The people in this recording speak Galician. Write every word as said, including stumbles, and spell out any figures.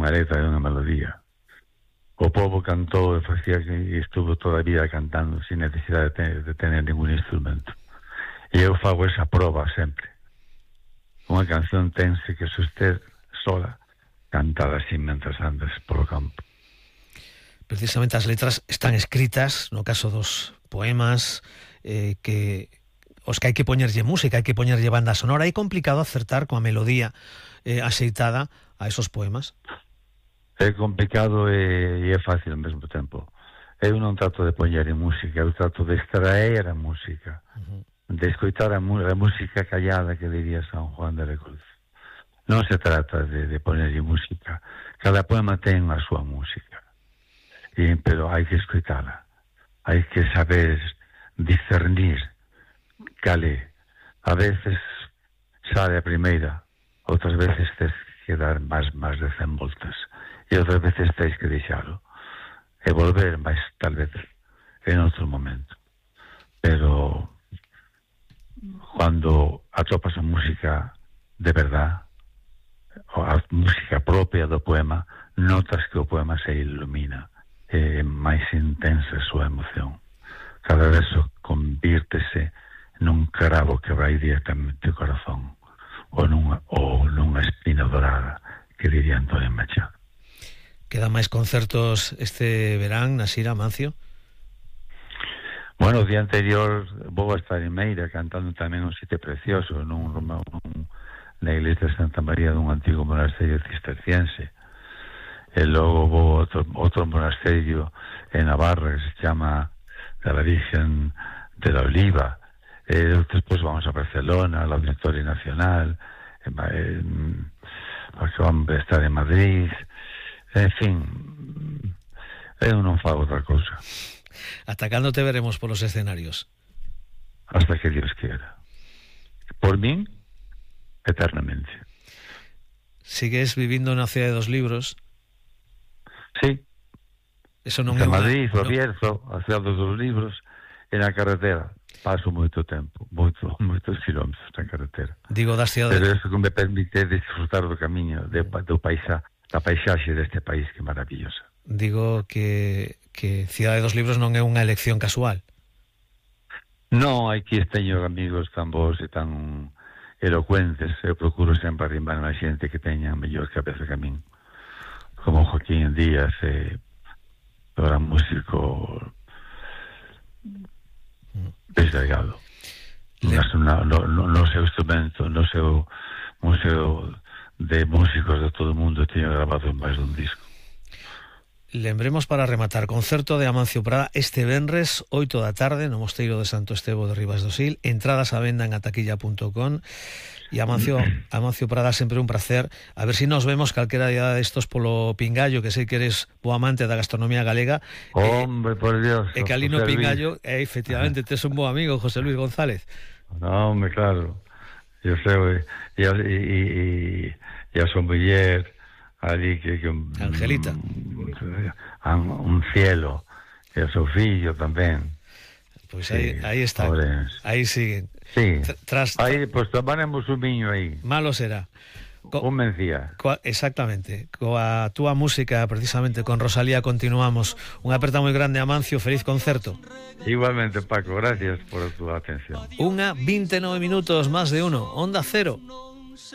unha letra e unha melodía. O povo cantou e facía que e estuvo toda a vida cantando sin necesidade de tener, de tener ningún instrumento. E eu fago esa proba sempre. Unha canción tense que soster sola, cantada así mentras andas polo campo. Precisamente as letras están escritas, no caso dos poemas, eh, que os que hai que poñerlle música, hai que poñerlle banda sonora. É complicado acertar coa melodía eh, axeitada a esos poemas? É complicado e, e é fácil ao mesmo tempo. Eu non trato de poñer en música, eu trato de extraer a música, uh-huh. de escoitar a, a música callada que diría San Juan de la Cruz. Non se trata de, de poñerlle música. Cada poema ten a súa música, e, pero hai que escoitala. Hai que saber discernir cale. A veces sale a primeira, outras veces tes que dar máis, máis de cen voltas. E outras veces tens que deixalo e volver máis tal vez en outro momento, pero cando atopas a música de verdad, a música propia do poema, notas que o poema se ilumina, é máis intensa a súa emoción. Cada verso convírtese nun cravo que vai directamente ao corazón, ou nunha, ou nunha espina dorada, que diría Antonio Machado. Quedan máis concertos este verán, Nasira, Amancio? Bueno, o día anterior vou a estar en Meira cantando tamén un sitio precioso nun, nun, na iglesia de Santa María dun antigo monasterio cisterciense. E logo vou a outro, outro monasterio en Navarra que se chama de la Virgen de la Oliva. E despois vamos a Barcelona, al Auditorio Nacional, en, en, vamos a estar en Madrid. En fin, eu non fago outra cousa. Ata cando te veremos polos escenarios? Hasta que Dios quiera. Por min, eternamente. Sigues vivindo na Cidade dos Libros? Sí. Eso non en é Madrid, una... o Bierzo, a Cidade dos Libros, e na carretera. Paso moito tempo, moito, moitos kilómetros na carretera. Digo das cidades... Pero eso que me permite disfrutar do camiño, de, do paisaje. A paisaxe deste país que é maravillosa. Digo que, que Cidade dos Libros non é unha elección casual. Non, aquí teño amigos tan bons e tan elocuentes. Eu procuro sempre arrimar a xente que teña mellor cabeza que a min, como Joaquín Díaz, e o gran músico deslegado Le... no, no, no seu instrumento, no seu museo de músicos de todo o mundo teño grabado en máis dun disco. Lembremos para rematar, concerto de Amancio Prada este venres, oito da tarde, no Mosteiro de Santo Estevo de Ribas do Sil, entradas a venda en ataquilla punto com. E Amancio, Amancio Prada, sempre un placer. A ver se si nos vemos calquera día destos polo Pingallo, que sei que eres bo amante da gastronomía galega. Hombre, eh, por Dios. E que ali no Pingallo, e efectivamente, tes un bo amigo, José Luis González. No, hombre, claro. Eu sei, e, e, e, e a súa muller ali que, que Angelita un, un cielo, e o seu fillo tamén. Pois pues sí, aí, aí está, aí siguen. Sí, Tras, aí, pois pues, tomaremos un viño aí. Malo será. Co, un mencía. Co, exactamente. Coa túa música, precisamente, con Rosalía continuamos. Unha aperta moi grande, Amancio, feliz concerto. Igualmente, Paco, gracias por a túa atención. Unha vinte e nove minutos, máis de uno, Onda Cero.